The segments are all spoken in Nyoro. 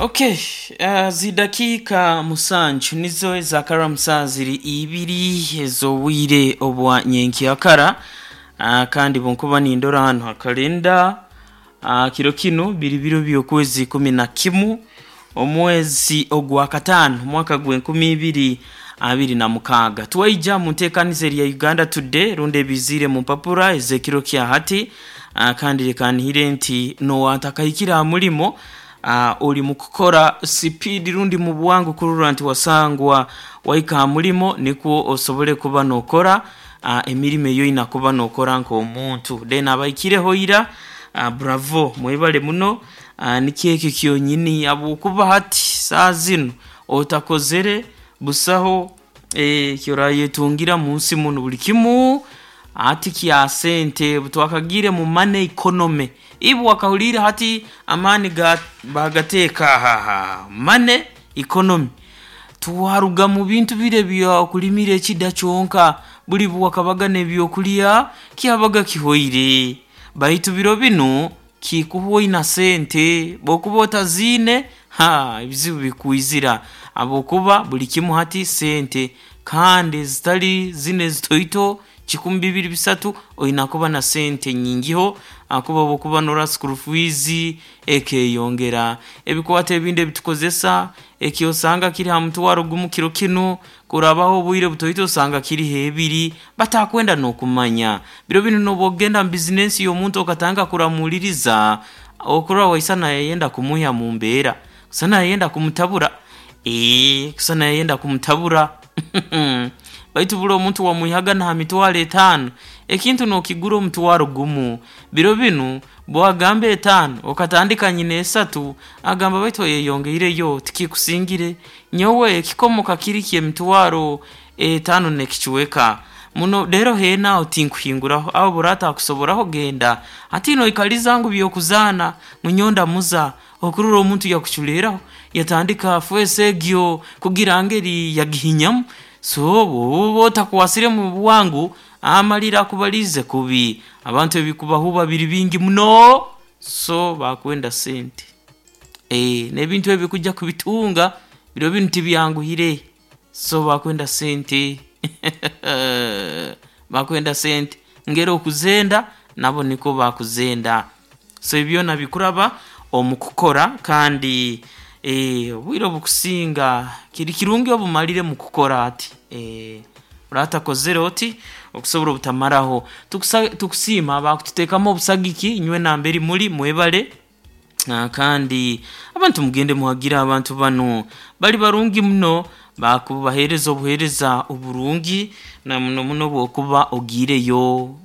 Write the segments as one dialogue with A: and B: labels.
A: Okay, zidakiika 7 nizo ezakara musaa ziri ibiri ez'obwire obwa nyenkyakara. Kandi bwenkuba nindora hanu ha kalenda, kiro kinu biri biro by'okwezi 11 omwezi ogwa kataano omwaka gw'e2026. Twaija mu nteekaniza erya Uganda Today rundi ebiiziire mu mpapura ez'ekiro kya hati. Kandi leka nhire nti n'owatakahikire aha mulimo, ori mu kukora sipiidi rundi mu bwangu kurora nti wasangwa wahika aha mulimo nikwo osobole kuba n'okora emirimo ei oine kuba n'okora nk'omuntu. Then abahikireho ira, bravo, mwebale muno. Nikyo ekyo kyonyini habwokuba hati saaha zinu otakozere busaho ekyorayetungira munsi munu. Buli kimu hati kya sente obutwakagiire mu money economy. Iwe wakahuliire hati amaani baagateeka aha money economy. Twaruga mu bintu bire eby'okulimira ekida kyonka, buli bwewakabaga n'ebyokulya kyabaga kihoire. Baitu biro binu kikuhwa oina sente, bwokuba otaziine ebizibu bikwizira habwokuba buli kimu hati sente, kandi ezitali zinu ezitoito kikumi, bibiri, bisatu, oina kuba na sente nyingiho ahakuba bwokuba norora school fees ekeyongera, ebikwato ebindi ebitukozesa ekyosanga kiri ha mutwaro gumu kiro kinu, kurabaho obwire butoito osanga kiriho ebiri batakwenda n'okumanya. Biro binu n'obwokugenda mu bizinensi y'omuntu okatandika kuramuuliriza, okurora waisana yayenda kumwiha mu mbeera, kusana yayenda kumutabura, kusana yayenda kumutabura. Baitu buli omuntu wamwihaga n'aha mitwaro etaano, ekintu n'okigura omutwaro gumu. Biro binu bwagamba etaano okatandika nyina esatu, agamba baitu oyeyongeireyo tikikusingire. Nyowe ekikomoka kiri ky'emitwaro etaano n'ekicweka muno reero heena aho tinkuhinguraho, aho bw'oraaba otakusoboraho genda. Hati noikaliza ngu by'okuzaana ngu nyowe ndamuza, okurora omuntu yakuculeeraho yatandika feesi egyo kugira ngeri yagihinyamu. So bw'oba otakwasire mu bwangu, amalira akubaliize kubi. Abantu ebikubahuuba biri bingi muno, so bakwenda sente. N'ebintu ebi kujja kubitunga biro binu tibyanguhire, so bakwenda sente. Bakwenda sente, ngeri okuzenda nabo nikwo bakuzenda. So ebyo byona bikuraba omu kukora kandi obwire obukusinga kiri kirungi obumalire mu kukora ati. Oratakozere oti okusobora obutamaraho. Tukusiima abakututeekamu obusagiki inywe namberi muli mwebale. Kandi abantu mugende muhagire abantu banu, bali barungi muno bakubaheereza obuheereza oburungi na muno muno bwokuba ogiireyo.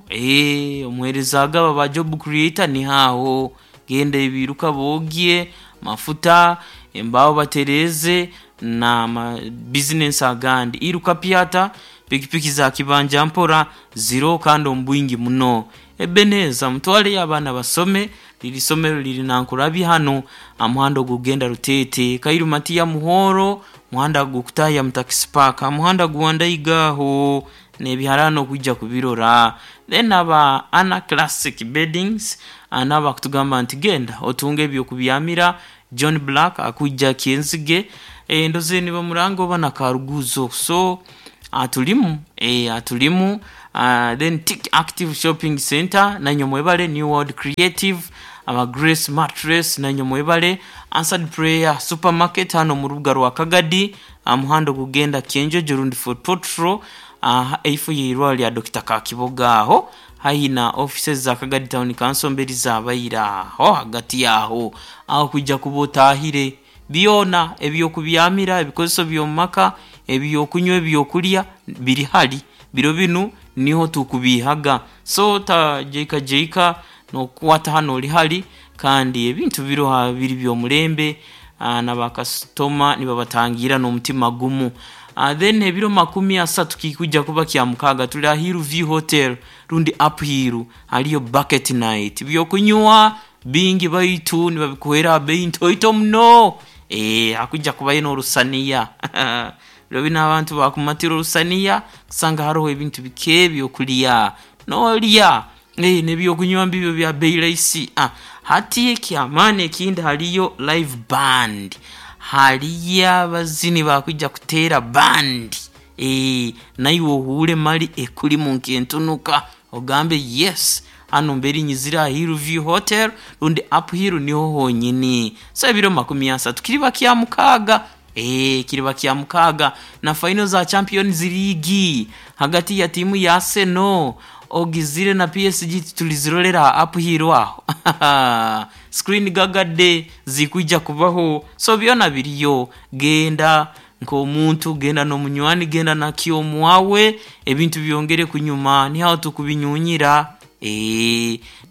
A: Omuheereza agaba ba job creator niho aho, genda ebiiruka boogye, amafuta, embaaho batereeze n'ama bizinensi agandi. Iruka pyata, pikipiki za kibanja mpora ziroho kandi omu bwingi muno. Ebenezer mutwaleyo abaana basome, liri isomero liri Nankulabye hanu aha muhanda ogukugenda Ruteete. Kairu Matia Muhoro, muhanda gukutaaya mu takisi paaka, aha muhanda gwa Ndaiga agho n'ebiharaani okwija kubirora. Then aba Anna Classic Beddings nabo bakutugamba nti genda otunge eby'okubyamira. John Black akwija Kyenzige, ndhooza nibamuranga oba na Karuguzo. So atulimu, atulimu. Then Tick Active Shopping Centre nainywe mwebale, New World Creative, aba Grace Mattress nainywe mwebale, Answered Prayer Supermarket hano mu rubuga rwa Kagadi aha muhanda ogugenda Kyenjojo rundi Fort Portal, eifo y'eirwaliro lya Dokita Kakiboga agho haihi na offices za Kagadi Town Council mberi z'abaire agho ghagati agho. Agho kwija kuba otaahire byona eby'okubyamira, ebikozeso by'omu maka, eby'okunywa, eby'okulya biri hali. Biro binu niho tukubiihaga. So tajaikajaika n'okukwata hanu ori hali kandi ebintu biroho biri by'omulembe na bakasitoma nibabatangiira n'omutima gumu. Then ebiro makumi asatu kikwija kuba Kyamukaaga tuli aha Hill View Hotel rundi Up Hill haliyo Bucket Night. Eby'okunywa bingi baitu nibabikuheera ha bei ntoito muno. Hakwija kubayo n'orusaniya. Biro binu abantu bakumatira orusaniya kusanga haroho ebintu bike eby'okulya. N'olya. N'ebyokunywa mbibyo bya bei rahisi. Hati ekyamaani ekindi haliyo live band. Haliyo abazini bakwija kuteera band. Naiwe ohuure mali ekulimu nk'entunuka ogambe yes, hanu mbere nyizire aha Hillview Hotel rundi Uphill niho honyini. So ebiro 30 kiriba kya mukaaga. Kiriba kya mukaaga na final za Champions League hagati ya tiimu ya Arsenal ogizire na PSG tulizirolera aha Uphill aho. Screen gagadde zikwija kubaho. So byona biriyo. Genda nk'omuntu, genda n'omunywani, genda na kyomwawe, ebintu byongere kunyuma, niho tukubinyunyira.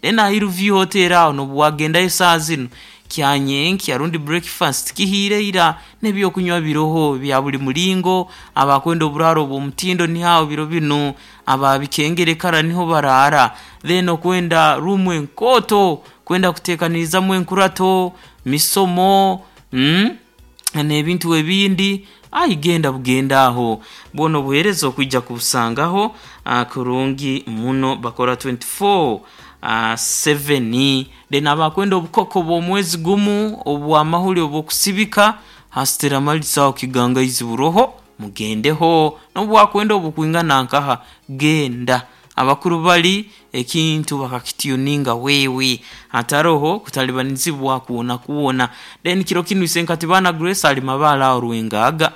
A: Then aha Hillview Hotel aho nobu wagendayo saaha zinu kyanyenkya rundi breakfast kihiire ira n'ebyokunywa biroho bya buli mulingo. Abakwenda oburaaro obw'omutindo niho aho biro binu, ababikengere kara niho baraara. Then okwenda ruumu enkooto, kwenda kuteekanirizamu enkurato, misomo, n'ebintu ebindi, ayi genda bugenda aho. Bwona obuheereza okwija kubusangaho kurungi muno, bakora 24/7. Then abakwenda obukoko bw'omwezi gumu obw'amahuri obw'okusibika, Hastera Malisa aho Kigangaizi buroho, mugendeho. Nobu wakwenda obukwingana nkaha, genda. Abakuru bali ekintu bakakityuninga wewe, hataroho kutalibanizibwa kwona kwona. Then kiro kinu Isenkatibana Grace ali Mabaale aho Rwengaga.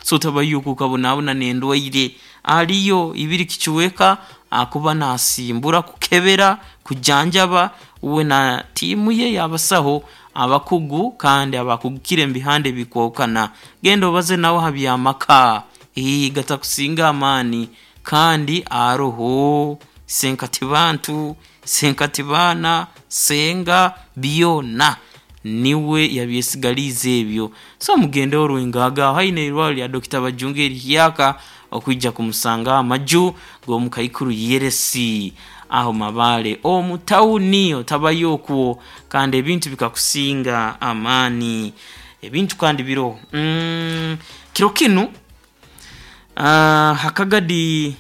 A: So otabayo okwo okabonabona n'endwaire. Aliyo ibiri kichweka akuba nasimbura kukebera, kujanjaba uwe na tiimu ye y'abasaho abakugu kandi abakugukire omu bihanda ebikwahukana. Genda obaze nawe ha by'amaka, gatakusinga amaani kandi aroho Isenkatibantu, Isenkatibaana, Senga, byona niwe yabyesigaliize ebyo. So mugendeho Rwengaga aho haine eirwariro lya Dokita Bajunga erihyaka okwija kumusangaho amaju g'omukaikuru Yeresi aho Mabaale omu tawuni otabayo okwo kandi ebintu bikakusinga amaani. Ebintu kandi biroho. Kiro kinu ha Kagadi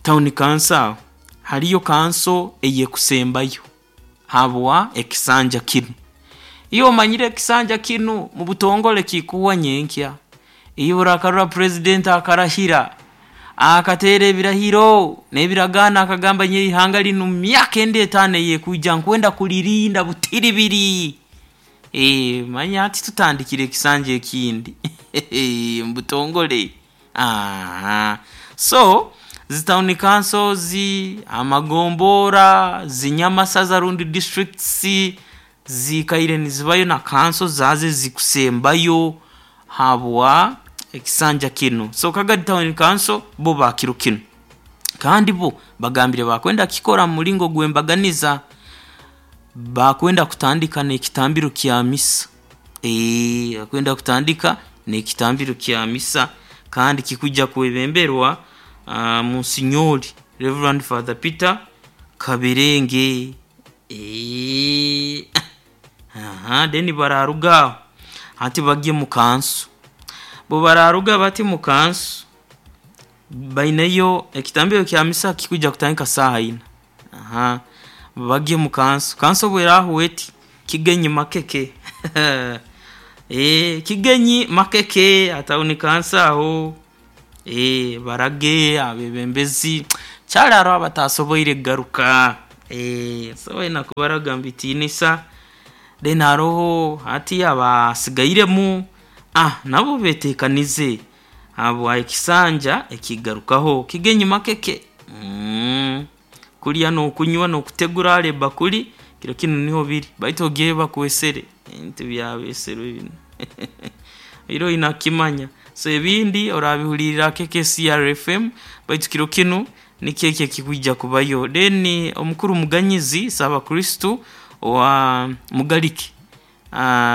A: Town Council aho haliyo kanso ey'ekusembayo habwa ekisanja kinu. Iwe omanyire ekisanja kinu mu butongole kikuhwa nyenkya. Iwe orakarora purezidenti akarahira, akateera ebirahiro n'ebiragaano akagamba nyowe eihanga linu mu myaka endi etaano ey'ekwija nkwenda kulirinda butiribiri. Manya hati tutandikire ekisanja ekindi mu butongole. So zi town councils, amagombora, zi nyamasaza rundi districts ziikaire nizibayo na kanso zaazo ezikusembayo habwa ekisanja kinu. So Kagadi Town Council bo ba kiro kinu. Kandi bo bagambire bakwenda kukikora mu mulingo gw'embaganiza, bakwenda kutandika n'ekitambiro kya misa. Bakwenda kutandika n'ekitambiro kya misa kandi kikwija kwebemberwa Monsinyori Reverend Father Peter Kaberenge. Then bararuga aho hati bagye mu kanso. Bo bararuga bati mu kanso, baineyo ekitambiro kya misa kikwija kutandika saaha ina. Bagye mu kanso. Kanso bwerahwa eti, kigenyi makeke. Kigenyi makeke aha town council aho. Barage abebembezi kyali hariho abatasoboire kugaruka. So baine kubaraga omu bitiinisa. Then haroho hati abasigairemu, nabo beteekanize habwa ekisanja ekigarukaho. Kigenyi makeke. Kulya n'okunywa n'okutegura hali ebakuli, kiro kinu niho biri. Baitu ogyeyo bakwesere, ebintu byabeserwe binu. Oire oine kukimanya. So ebindi orabihulirra KKCR FM baitu kiro kinu nikyo ekyo ekikwija kubayo. Then omukuru Muganyizi Ssaabakristu owa Mugalike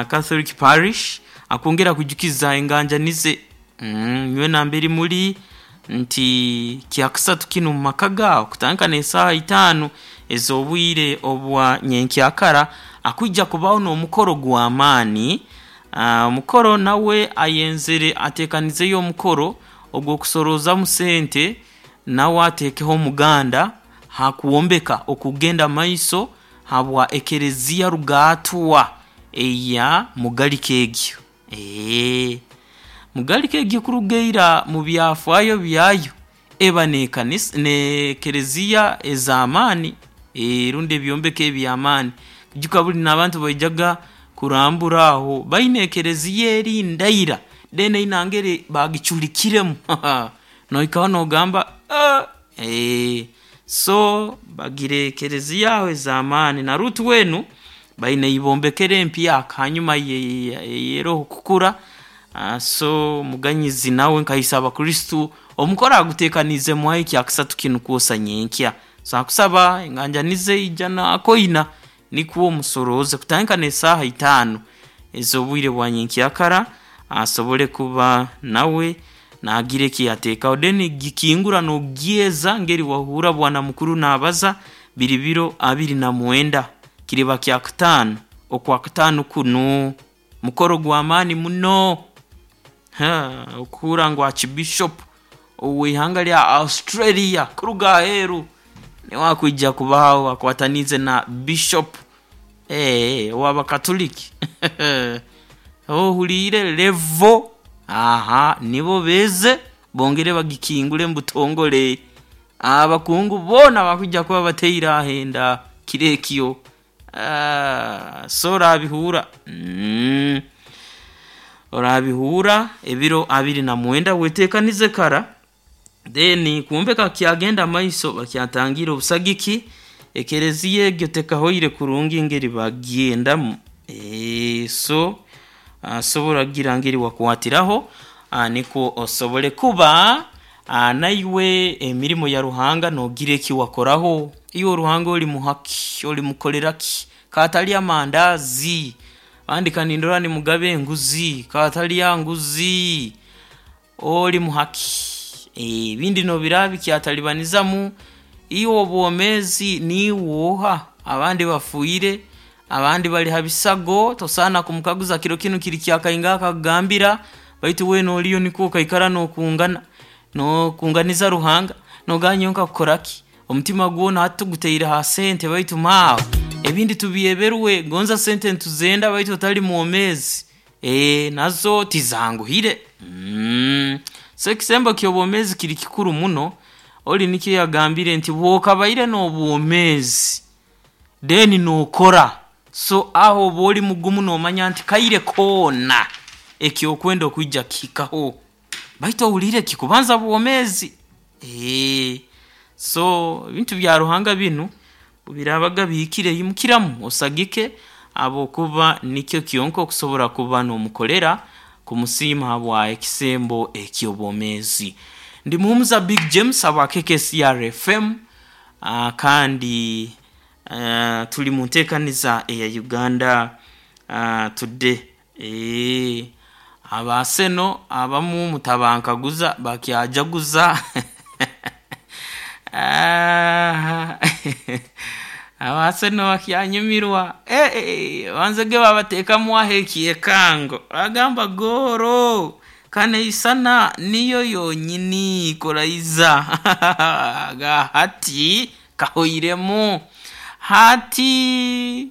A: Catholic Parish akwongera kwijukiza enganjani ze nyowe nambere muri nti kyakusatu kinu omu maka gaawe kutandika n'esaaha itaano ez'obwire obwa nyenkyakara akwija kubaho n'omukoro gw'amaani. Omukoro nawe ayenzere ateekanizeyo omukoro ogw'okusoroozamu sente nawe ateekeho omuganda. Ha kwombeka okugenda maiso habwa ekereziya rugaatwa eya Mugalika egyo. Mugalika egyo kuruga ira mu byafaayo byayo eba n'ekanisa n'ekereziya ez'amaani rundi ebyombeko eby'amaani. Ijuka buli n'abantu baijaga kurambura aho, baine ekereziya eri ndaira then eine ngeri baagiculikiremu nohikaho noogamba so bagira ekereziya aho ez'amaani. Na Ruutu enu baine ei bombekere empyaka hanyuma y'eroho kukura, so Muganyizi nawe nka ise abakristu omukoro aguteekaniize Mwai kyakasatu kinu kwosa nyenkya. So akusaba enganjani ze ija n'akoina nikwo musorooze kutandika n'esaaha itaano ez'obwire bwa nyenkyakara asobole kuba nawe naagira eki yateekaho. Then gikingura noogyeza ngeri wahuura bwana mukuru naabaza biri biro 29 kiriba kyakataano okwakataano kunu. Mukoro gw'amaani muno, okuhuura ngu Archbishop ow'ihanga lya Australia kuruga aheeru niwe akwija kubaho akwataniize na Bishop ow'Abakatuliki ohuliire level nibo beeze bongere bagikingule mu butongole. Abakungu boona bakwija kuba bataire aho enda kiro ekyo, so oraabihuura oraabihuura ebiro 29 weteekanize kara then kwombeka kukyagenda maiso bakyatangiire obusagiki ekereziya egyo tekahoire kurungi ngeri bagyendamu, so osobora kugira ngeri wakwatiraho nikwo osobole kuba naiwe emirimo ya Ruhanga noogira eki wakoraho. Iwe Ruhanga olimuha ki? Olimukolera ki? Kaatalya mandaazi, abandi kanindora nimugaba enguzi, kaatalya nguzi, olimuha ki? Ebindi noobiraba bikyatalibanizamu, iwe obwomeezi niiwe oha? Abandi bafiire, abandi bali ha bisago, tosaana kumukaguza kiro kinu kiri kyakaingaha akakugambira, baitu weena oliyo nikwo okaikara nookungana, nookunganiza Ruhanga, noogamba nyowe nkakukora ki? Omutima gwona hati tugutaire ha sente baitu maawe ebindi tubyeberwe, gonza sente nituzenda baitu otali mwomeezi, nazo tizanguhire. So ekisembo ky'obwomeezi kiri kikuru muno, ori nikyo yagambire nti bw'okabaire n'obwomeezi then nookora, so aho oba ori mugumu noomanya nti kaire koona eki okwenda okwija kukihikaho baitu ohuliire kikubanza bwomeezi. So ebintu bya Ruhanga binu obu biraabaga bihikire imukiramu osagike habwokuba nikyo kyonka okusobora kuba noomukolera kumusiima habwa ekisembo eky'obwomeezi. Ndi Muhumuza Big James habwa KKCR FM kandi tuli mu nteekaniza eya Uganda Today. Aba Arsenal abamu mutabankaguza bakyajaguza aba Arsenal bakyanyumirwa banzege babateekamu aho ekyekango bagamba goolo kaneisana niyo yonyini kuraiza hati kahoiremu hati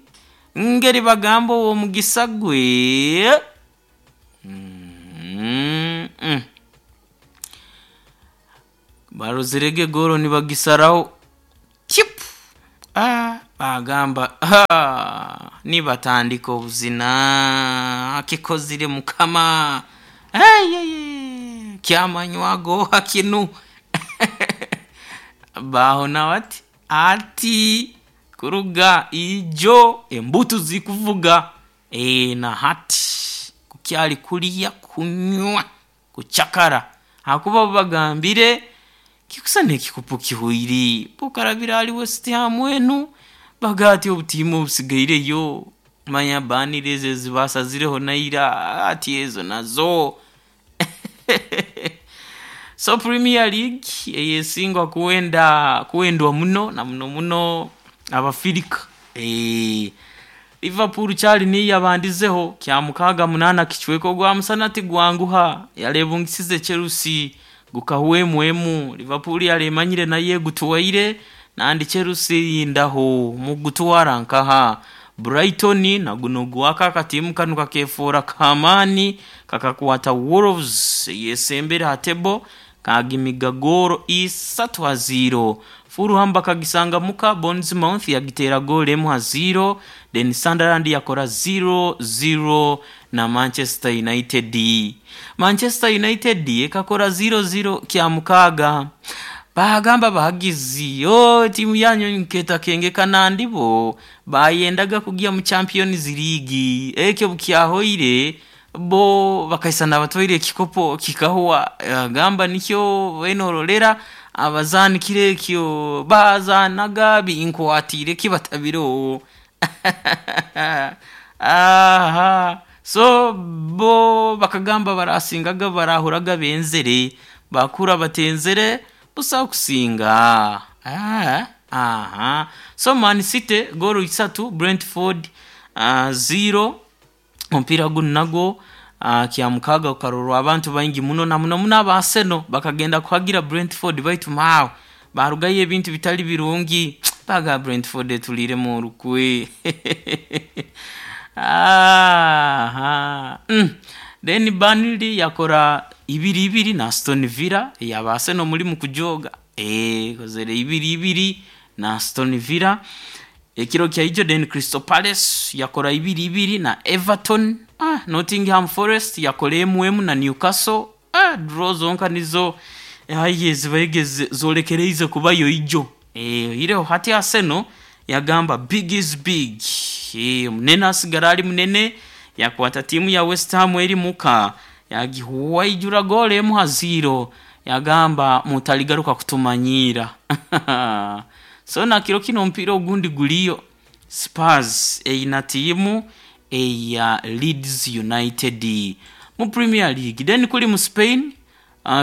A: ngeri bagamba ow'omugisa gwe barozerege goolo nibagisaraho kipu bagamba nibatandika obuzina akikozire mukama kyamanywa gooha kinu baahona bati ati kuruga ijo embutu zikuvuga na hati kukyali kulya, kunywa, kucakara ahakuba bo bagambire kikusana ekikopo kihoire okarabira ahari West Ham enu bagaa ati obutiimu obusigaireyo manya Burnley ezo ezibasazireho naira ati ezo nazo. So Premier League eyesingwa kuwenda kuwendwa muno na muno muno Abafirika. Liverpool kyali niyo yabandizeho kyamukaaga munaana kicweka ogwa musana tigwanguha yaleebungisize Chelsea gukahwa emu emu. Liverpool yali emanyire nayo egutwaire. Nandi Chelsea erindaho mugutwara nkaha? Brighton naguno gwaka akatiimu kanu kakefoora k'amaani, kakakwata Wolves eyesembere ha table kagimiga goolo 3-0. Fulham bakagisanga muka, Bournemouth yagiteera goolo 1-0, then Sunderland yakora 0-0 na Manchester United. Manchester United ekakora 0-0 kyamukaaga. Baagamba abahagizi, o tiimu yanyu nketakengeka nandi bo bayendaga kugya mu Champions League. Ekyo bukyahoire bo bakaisana batwaire ekikopo kikahwa. Agamba nikyo benorolera abazaani kiro ekyo bazaanaga binkwatiire kibatabireho. Aha so bo bakagamba barasingaga barahuraga benzere bakura batenzere busa kusinga. Aha so Man City goolo 3, Brentford 0. Omupiira gunu nagwo kyamukaaga gukarorwa abantu baingi muno, na muno muno aba Arsenal bakagenda kuhagira Brentford, baitu maawe barugayo ebintu bitali birungi, baga Brentford etuliiremu orukwe. Aha then Burnley yakora 2-2 na Aston Villa eyaba Arsenal mulimu kujoga, ekozere 2-2 na Aston Villa ekiro kyaijo. Then Crystal Palace yakora 2-2 na Everton. Nottingham Forest yakora 1-1 na Newcastle. Draw zonka nizo aye zibaige zolekereize kubayo ijo. Oihireho hati Arsenal yagamba big is big, munene asigara ali munene, yakwata tiimu ya West Ham eri muka yagihuwaijura goolo 1-0, yagamba mutaligaruka kutumanyiira. So na kiro kino omupiira ogundi guliyo, Spurs eyina tiimu eya Leeds United mu Premier League. Then kuli mu Spain,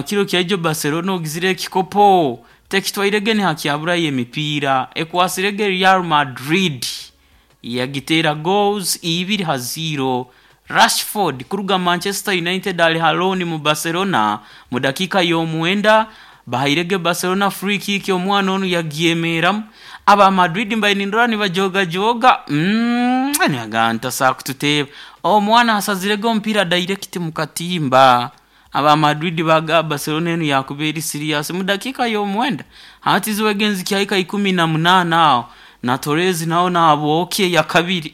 A: kiro kyaijo Barcelona ogizire ekikopo tekitwairege nihakyaburayo emipiira, ekwasirege Real Madrid yagiteera goals 2-0. Rashford kuruga Manchester United ali ha loan mu Barcelona, mu dakiika y'omwenda bahairege Barcelona free kick, omwana onu yagyemeramu. Aba Madrid mbaire nindora nibajogajoga, nibagaa ntasobola kututeeba, omwana asazirege omupiira direct mu katimba. Aba Madrid baga Barcelona enu yakuba eri serious mu dakiika y'omwenda. Hati ziwege nzikyahika 18 aho na Torres nawe naabwokye ya kabiri,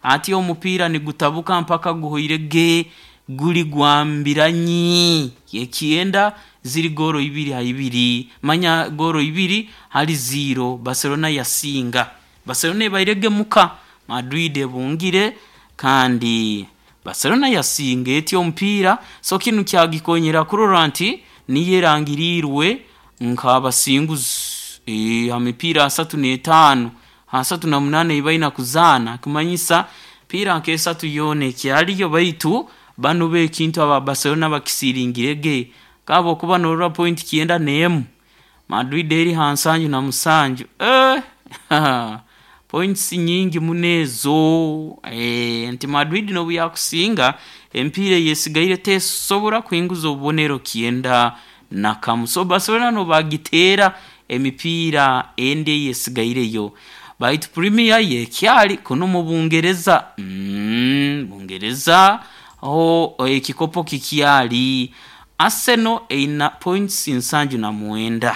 A: ati omupiira nigutabuka mpaka guhoirege guli gwambiranyi ekyenda, ziri goolo 2-2, manya goolo 2-0 Barcelona yasinga. Barcelona ebairege muka, Madrid ebungire, kandi Barcelona yasinga eti omupiira. So kinu kyagikonyera kurora nti niyo erangiriirwe nk'abasinguzi ha mipiira 35 38 ei baina kuzaana, kumanyisa mipiira nk'esatu yoona ekyaliyo, baitu banu bo ekintu aba Barcelona bakisiringirege kahabwokuba norora point 91, Madrid eri ha 77, points nyingi muno ezo, nti Madrid nobu yakusinga emipiira eyesigaire tesobora kuhinguza obubonero 91. So Barcelona nobagiteera emipiira endi eyesigaireyo. Baitu Premier yekyali kunu mu Bungereza, Bungereza ho ekikopo kikyali, Arsenal eyina points 79,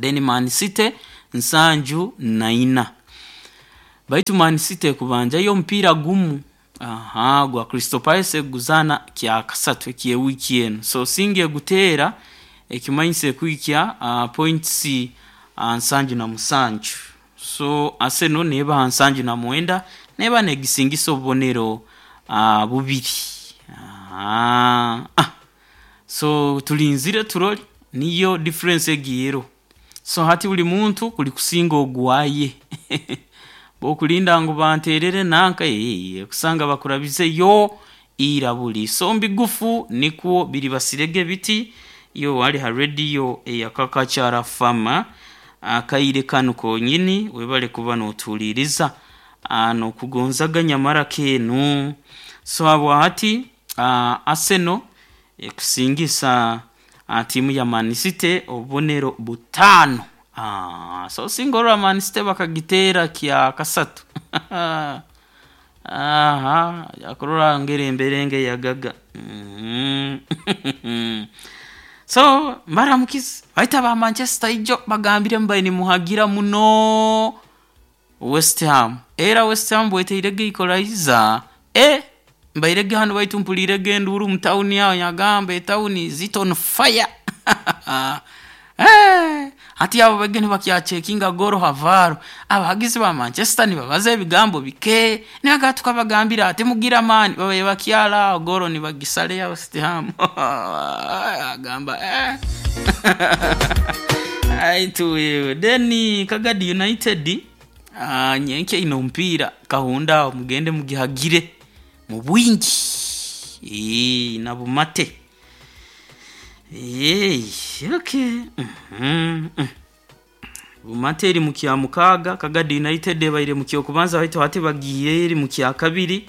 A: then Man City 74, baitu Man City ekubanjayo omupiira gumu, aha gwa Crystal Palace eguzaana kyakasatu eky'ewiiki enu. So singa eguteera ekimanyisa ekuhikya points 77. So Arsenal neeba ha 79, neeba negisingisa obubonero bubiri. So tulinzire turole niyo difference egi eroho. So hati buli muntu kuli kusinga ogwaye, bwokulinda ngu banterere nanka, okusanga bakurabizeyo ira buli. So mbigufu nikwo biribasirege biti yo wali ha rediyo eyakakakyara fama akaire kanu konyini, webale kuba notuhuliiriza nokugonzaga nyamara keenu. So habwahati Arsenal ekusingisa tiimu ya Man City obubonero 5. So singa orora Man City bakagiteera kya kasatu. Aha, akurora ngeri emberenge yagaga. So mbaramukize baita ba Manchester ijo bagambire mbaye nimuhagira muno West Ham. Era West Ham bweteirege equalizer, mbairege hano baitu mpulirege enduru mu town aho nyagamba etown is it on fire. Hati abo bage nibakyachekinga goro havaro abahagizi ba Manchester nibabaza ebigambo bike nibaga tukabagambira ati mugira mani babaye bakyala goro nibagisale ya West Ham. Agamba Aituwewe then Kagadi United nyenke ino mpira kahunda mugende mugihagire mu bwingi na bumate. Okay. Bumate eri mu kya mukaga, Kagadi United ebaire mu kyokubanza baitu hati bagiye eri mu kya kabiri.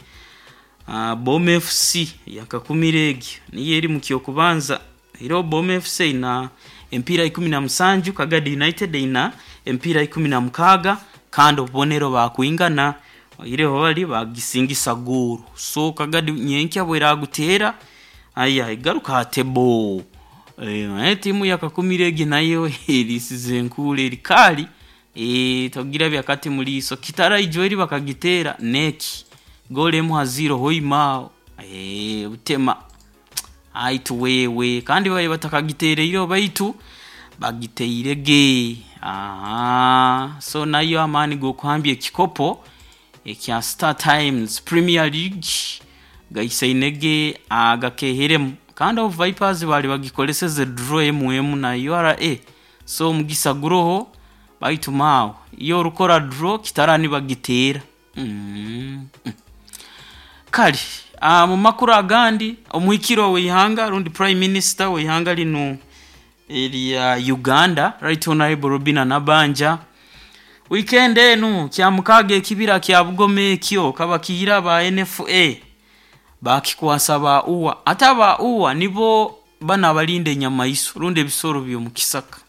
A: Bom FC yakakumira egyo niyo eri mu kyokubanza. Era Bom FC ina empira 17, Kagadi United ina empira 16 kandi obubonero bakwingana ireho bali bagisingisa goro. So Kagadi nyenkya bweragutera aya igaruka atebo. Timu yakakumira egi nayo erisize enkula erikali togira byakati muliso kitara ijo eri bakagitera neki gole emu haziro hoimao butema aitu wewe kandi baye batakagitereire baitu bagiteirege. So nayo amani gokuhambya ekikopo ekya Star Times Premier League gaisainege agakeheremu kandi abo Vipers bali bagikoleseze draw emu na URA. So omugisa guroho baitu mawe iyo orukora draw kitarani bagitera. Kali mu makuru agandi omuhikiro w'ihanga rundi Prime Minister w'ihanga lino erya Uganda Right Honorable Robina Nabanja weekend enu kya mukaga ekibira kya Bugoma ekyo kabakihira ba NFA bakikwasa ba uwa ate aba uwa nibo bana abalinda enyamaiso rundi ebisoro by'omukisaka.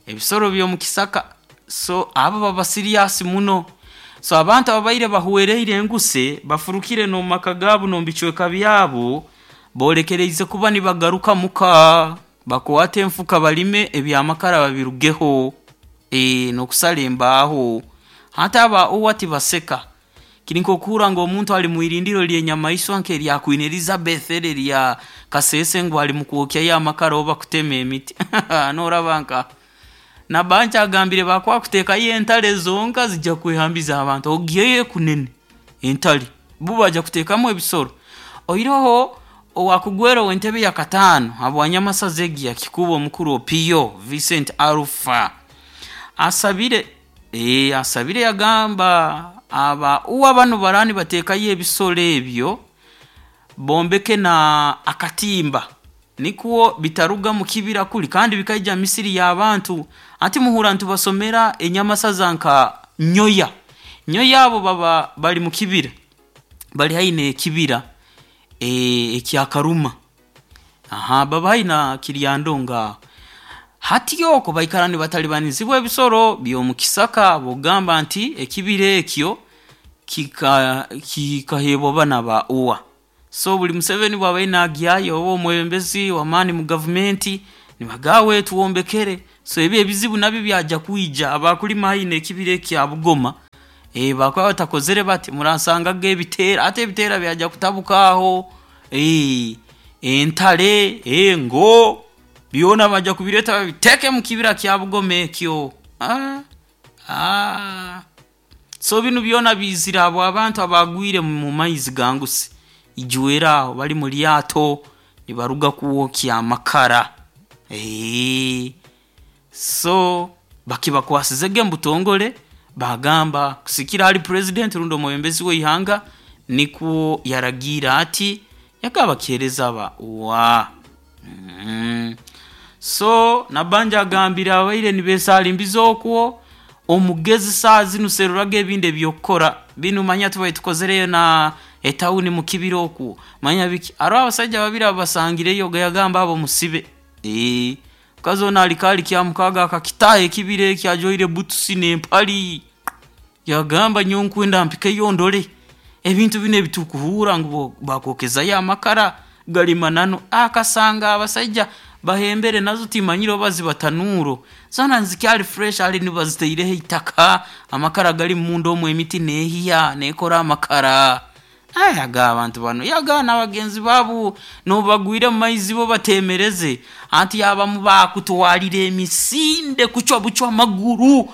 A: Ebisoro by'omukisaka so abo baba serious muno. So abantu ababaire bahuwereire enguse bafurukire no maka gaabo no bicweka byabo bolekereize kuba nibagaruka muka bakwate enfuka balime ebyamakara babirugeho nokusala embaaho. Hati aba uwa tibaseka kiri nk'okuhurra ngu omuntu ali mwirindiro ly'enyamaiswa nk'erya Queen Elizabeth eri erya Kasese ngu ali mukwokyayo amakara oba kutema emiti. Noraba nka Nabanja agambire bakwakuteekayo entale zonka zijja kwehambiza abantu ogiyeyo kunene entale bo bajja kuteekamu ebisoro. Oiroho owakugwera ow'entebe ya kataano habwanyamasaza egi ya Kikuubo omukuru Opio Vincent Alpha asabire asabire yagamba aba uwa bano barani bateekayo ebisoro ebyo bombeke na akatimba nikwo bitaruga mu kibira kuli kandi bikaija misiri y'abantu. Ati muhura ntubasomera enyamasaza nka nyoya nyoya abo baba bali mu kibira bali haine ekibira ekyakaruma baba haina kiryandonga hati yoko baikara nibatalibanizibwa ebisoro by'omukisaka bogamba nti ekibira ekyo kikahebwa bana ba uwa. So buli Museveni bwabaire nagyayo oba omwebembezi w'amaani mu gavumenti nibagawe tuwombekere. So ebi ebizibu nabyo byajja kwija abakulima haine ekibira ekya Bugoma bakuba batakozere bati muransangaga ebiteera ate ebiteera byajja kutabuka aho entale engo byona bajja kubireta babiteeke mu kibira kya Bugoma ekyo. So binu byona bizira abo abantu abagwire mu maizi ganguse ijwera aho bali mu lyato nibaruga kuwokya amakara. So bakibakwasizege mbutongole bagamba kusikira ali president rundi omwebembezi w'ihanga nikwo yaragira ati yakabakereza ba wa. So Nabanja agambira abaire nibesalimbiza okwo omugezi saa zinu seruraga ebindi ebyokukora binu manya tubaye tukozereyo na etawuni mu kibira okwo manya biki aro abasajja babiri abasangireyo yagamba abo musibe. Mukazi onu alikaali kyamukaaga akakitaaha ekibira eki ajwaire butusi n'empali, yagamba nyowe nkwenda mpikeyo ndole ebintu binu ebitukuhuura ngu bakwokezayo amakara gali mananu. Akasanga abasaija bahembere nazo timanyire oba ziba tanuuro, zoona nizikyali fresh hali nibazitaireho itaka, amakara gali munda omu emiti neehiya neekora amakara. Yagamba abantu banu, yagamba n'abagenzi baabu n'obu bagwire mu maizi bo bateemereze, anti abamu baakutwalire emisinde kucwa bucwa amaguru,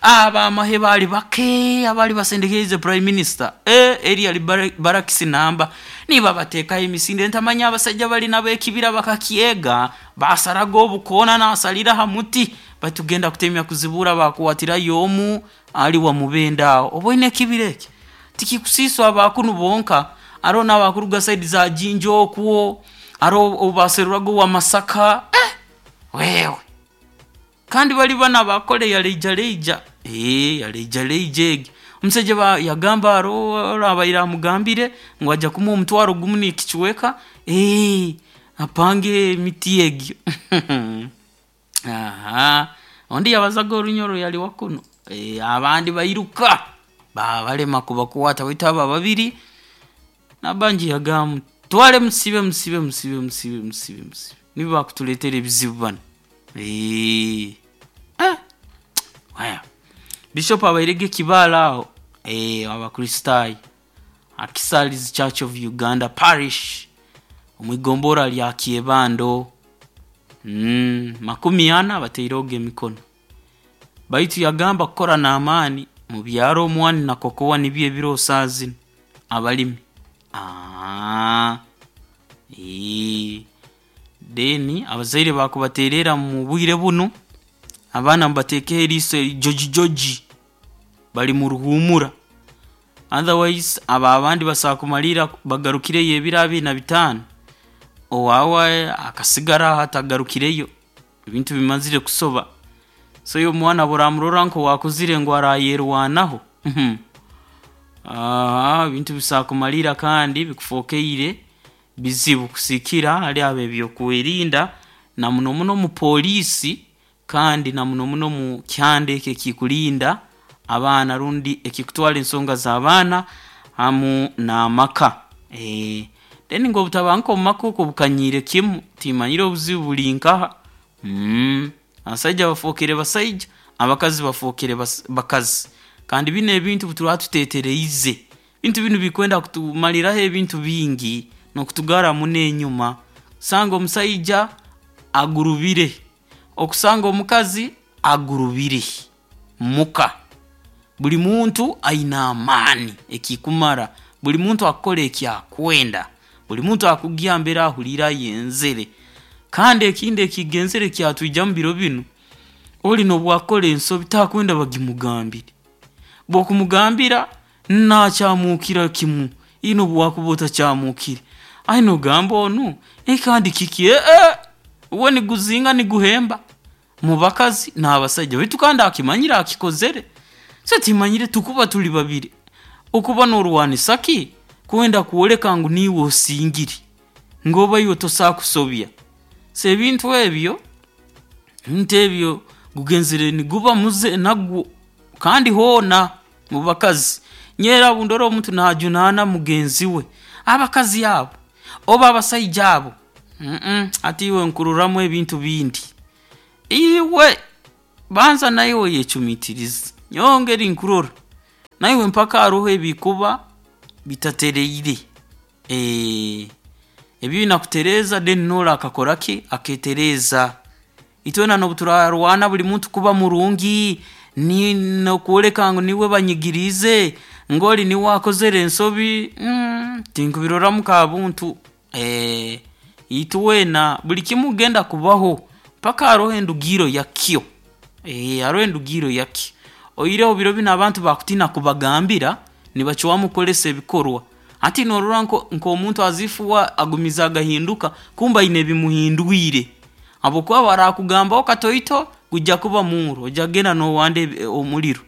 A: ab'amahe baali bake abaali basendekeriize Prime Minister, eri yali barakisi namba, nibabateekaho emisinde ntamanya abasaija bali n'ab'ekibira bakakyega, baasaraga obukoona naasalira ha muti, baitu kugenda kutemya kuzibuura baakwatirayo omu ali wa Mubende aho. Oboine ekibira eki? Tikikusiiswa aba kunu bonka, haroho n'abakuruga saidi za Jinja okwo, haroho ou baaseruraga owa Masaka, wewe! Kandi bali banu abakole ya leija ya leija egi. Omusaija yagamba haroho ori abaire amugambire ngu aija kumuha omutwaro gumu n'ekicweka, apange emiti egi. Ondi yabazaaga Orunyoro yali wa kunu, abandi bairuka baabalema kubakwata baitu abo ababiri, Nabangi yagamba mutwale musibe musibe musibe musibe musibe musibe nibo bakutuleetera ebizibu banu. Bishop abairege e Kibaale aho Abakristaayo, Kisalizi Church of Uganda Parish omu igombora lya Kyebando, 40 batairehoga emikono. Baitu yagamba kukora n'amaani mubyare omwani na kokowa nibyo ebiroho saaha zinu abalimi. Then abazaire baakubateererra mu bwire bunu, abaana mubateekeho eriiso jojijoji, bali mu ruhuumura otherwise abo abandi basobola kumalirra bagarukireyo ebiro 25, owaawe akasigara aho atagarukireyo, ebintu bimazire kusoba. So iwe omwana obu oraamurora nk'owaakuzire ngu araayerwanaho, ebintu bisobola kumalirra kandi bikufookeire bizibu kusigiikira hali ab'ebyokwerinda na muno muno omu poliisi kandi na muno muno omu kyanda eki ekikulinda abaana rundi ekikutwara ensonga z'abaana hamu n'amaka. Then ngu obutabanguko omu maka okwo bukanyiire kimu, timanyire obuzibu buli nkaha, abasaija bafookere basaija, abakazi bafookere bakazi. Kandi binu ebintu obu turaaba tuteetereize, ebintu binu bikwenda kutumariraho ebintu bingi n'okutugarra muno enyuma. Osanga omusaija agurubire, okusanga omukazi agurubire muka, buli muntu aine amaani ekikumara, buli muntu akukora eki akwenda, buli muntu akugya mbere ahuliire ayenzere. Kandi ekindi ekigenzere kyatwijamu biro binu, oli n'obu akukora ensobi takwenda bagimugambire, obu okumugambira naakyamuukira kimu iwe n'obu wakuba otakyamuukire, noogamba onu kandi kiki uwe niguzinga niguhemba mu bakazi n'abasaija baitu kandi akimanyire akikozere. So timanyire tukuba tuli babiri, okuba noorwanisa ki kwenda kwoleka ngu niiwe osingire, ngu oba iwe tosobola kusobya. So ebintu ebyo, ebintu ebyo gugenzere niguba muze nagwo kandi hoona mu bakazi. Nyowe era obu ndora omuntu naajunaana mugenzi we, abakazi abo oba abasaija abo, hati iwe nkuroramu ebintu bindi. Iwe banza naiwe oyecumiitirize, nyowe engeri nkurora, naiwe mpaka haroho ebikuba bitatereire, ebi oine kutereeza then n'ori akakora ki, akeetereeza. Itwena n'obu turaarwana buli muntu kuba murungi, n'okwoleka ngu niiwe banyigiriize, ngu ori niiwe akozere ensobi, tinkubiroramu nk'abuntu. Itwena buli kimu kugenda kubaho mpaka haroho endugiiro yakyo, haroho endugiiro yakyo. Oihireho biro binu abantu baakutiina kubagambira, nibacwamu kukozesa ebikorwa. Hati noorora nk'omuntu as if uwe agumize agahinduka kumbe aine ebimuhindwire habwokuba obu araakugambaho katoito, gujja kuba murro, ojja kugenda noowanda omuriro.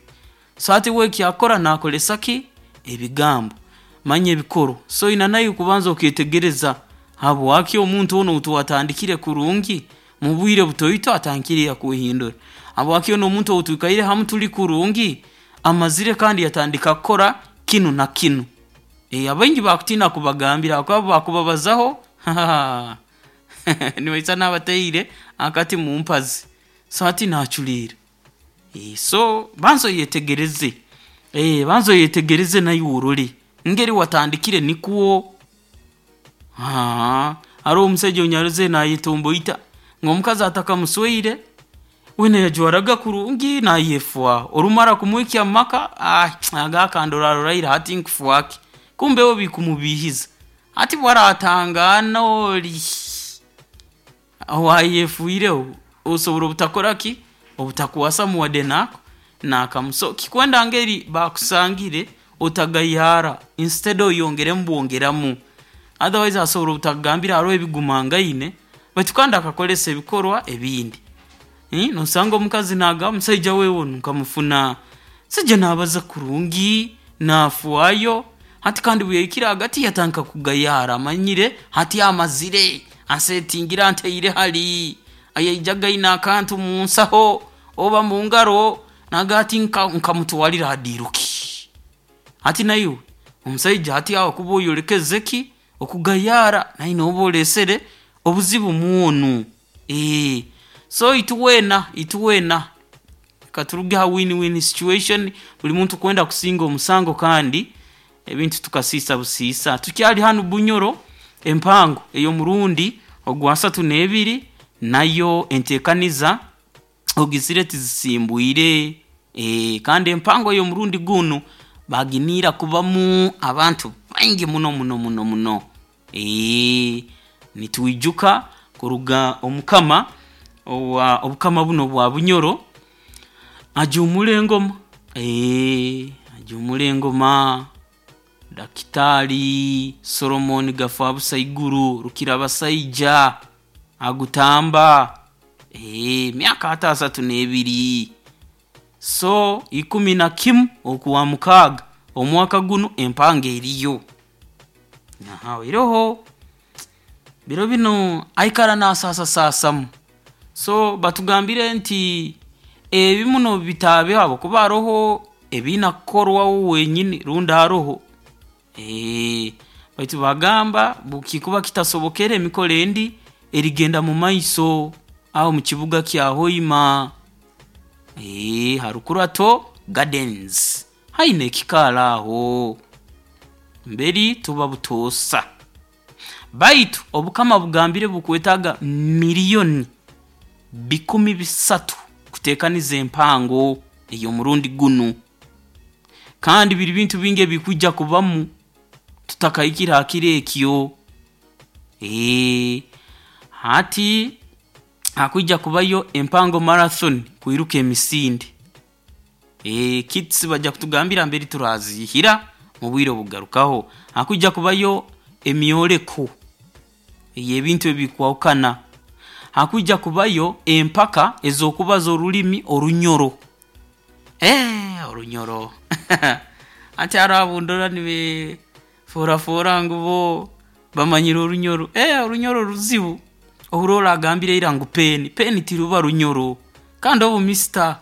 A: So hati uwe eki akukora naakozesa ki, ebigambo manya ebikorwa. So oine naiwe kubanza okeetegereza habwaki omuntu onu ou twatandikire kurungi. Mu bwire butoito atandikire yakwehindura. Habwaki onu omuntu ou twikaire hamu tuli kurungi, amazire kandi yatandika kukora kinu na kinu. Abaingi bakutiina kubagambira habwokuba bakubabazaho nibaisana abataire akati mu mpazi. So hati naaculeera. So banza oyetegereze, banza oyetegereze naiwe orole, engeri watandikire nikwo? Haroho omusaija ou narozere naayetomboita ngu omukazi atakamusweire, weena yajwaraga kurungi naayefaaho, orumara kumuhikya mu maka, nagamba kandoraaroraire hati nkufaaki? Kumbe uwe bikumubiihiza, hati obu araatangaana oli owaayefiireho, osobora obutakora ki, obutakwasamu wadde n'akamu. So kikwenda ngeri baakusangire otagayaara, instead oyongeremu bwongeramu, otherwise asobora obutakugambira haroho ebigumangaine baitu kandi akakozesa ebikorwa ebindi. Noosanga omukazi naagamba omusaija we onu nkamufuna musaija naabaza kurungi, naafaayo, hati kandi obu yahikire hagati yatandika kugayaara, amanyire hati amazire, ansetingire antaire hali, yaijaga aine akantu mu nsaho oba mu ngaro, nagamba hati nkamutwalire ha diiru ki? Hati naiwe omusaija hati aho okuba oyolekeze ki, okugayaara naiwe nooba oleesere obuzibu mwonu. So itwena, itwena katuruge ha win win situation, buli muntu kwenda kusinga omusango kandi ebintu tukasiisa busiisa. Tukyali hanu Bunyoro, empango ey'omurundi ogwa 32 nayo enteekaniza ogizire tizisimbwire, kandi empango ey'omurundi gunu baaginiire kubamu abantu baingi muno muno muno muno. Nitwijuka kuruga omukama owa obukama bunu obwa Bunyoro ajuumura engoma, ajuumura engoma Dakitaali Solomon Gafabusa Iguru Rukirabasaija agutamba, emyaka hati 32. So 11 Okwamukaaga omwaka gunu empango eriyo. Eroho, biro binu aikara naasaasasaasamu, so batugambire nti ebimu n'obu bitaabeho habwokuba haroho ebiine kukorwa uwe wenyini rundi aroho, baitu baagamba obu kikuba kitasobokere emikoro endi erigenda mumaiso aho omu kibuga kya Hoima, ha Rukurato Gardens haihi n'ekikaari aho, mberi tuba butoosa. Baitu obukama bugambire bukwetaaga miriyoni 300,000 kuteekaniza empango ey'omurundi gunu. Kandi biri bintu bingi ebikwija kubamu tutakahikire ha kiro ekyo. Hati hakwija kubayo empango marathon kwiruka emisinde. Kits baija kutugambira mbere turaziihira mu bwire obukugarukaho. Hakwija kubayo emyoleko ey'ebintu ebikwahukana. Hakwija kubayo empaka ez'okubaza orulimi Orunyoro. Orunyoro hati haroho abu ndora nibeefoorafoora ngu bo bamanyire Orunyoro, Orunyoro ruzibu, ohurra oli agambire ira ngu peeni, peeni tiruba Runyoro kandi obu mister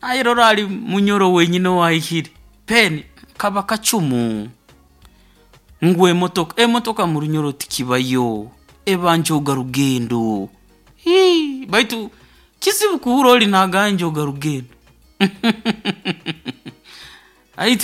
A: nayerora ali Munyoro wenyini ow'ahikire, peeni kaba kacumu, ngu emotoka, emotoka mu Runyoro tikibayo, eba njooga rugendo, baitu kizibu kuhurra oli naagamba njooga rugendo.